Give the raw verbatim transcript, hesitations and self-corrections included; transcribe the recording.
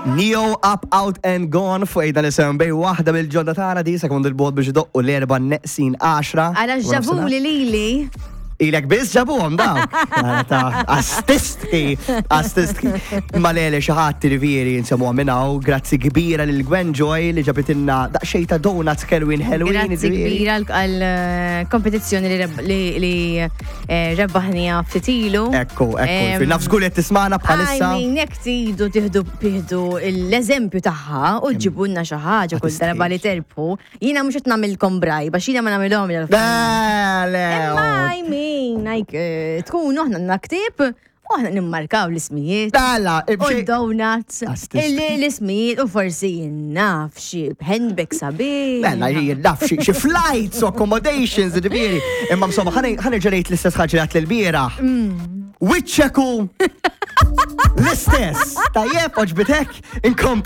Ne-Yo, Up, Out and Gone fuq dan isem bej waħda mill-ġodda tagħna di sekond il-bogħod biex idoqqu l-erba' neqsin għaxra. Għala ġabuli lili. Ilek biss ġabuhom dawk. Ta' Artistki, artistki. Ma lele xi ħadd rivieri nsemmuha minn hawn, grazzi kbira lil Gwen Joy li ġabitilna daqsxejn ta' donuts kelwin ħelwin. Grazzi kbira għal eh, kompetizzjoni li reb- li li, eh, rebbaħnija ftit ilu. Ekku, ekku. Em, Fil-naf żgur qed tismana bħalissa. I mean, jekk tridu tieħdu tieħdu l-eżempju tagħha u ġibulna xi ħaġa kull darba li terbħu, jiena mhux qed nagħmilkom bribe għax jiena ma nagħmilhom Le, le. Imma I mean, like, eh, tkunu aħna għandna ktieb u aħna nimmarkaw l-ismijiet. Dala, U donuts, Artisti. l-ismijiet u forsi naf xi handbag sabiħ. Mela, jien naf xi xi flights u accommodations, ġifieri. Imma insomma, ħa nerġa' ngħid l-istess ħaġa li għedt l-bieraħ. Wiċċeku l-istess. Tajjeb, għoġbitek, inkomplu.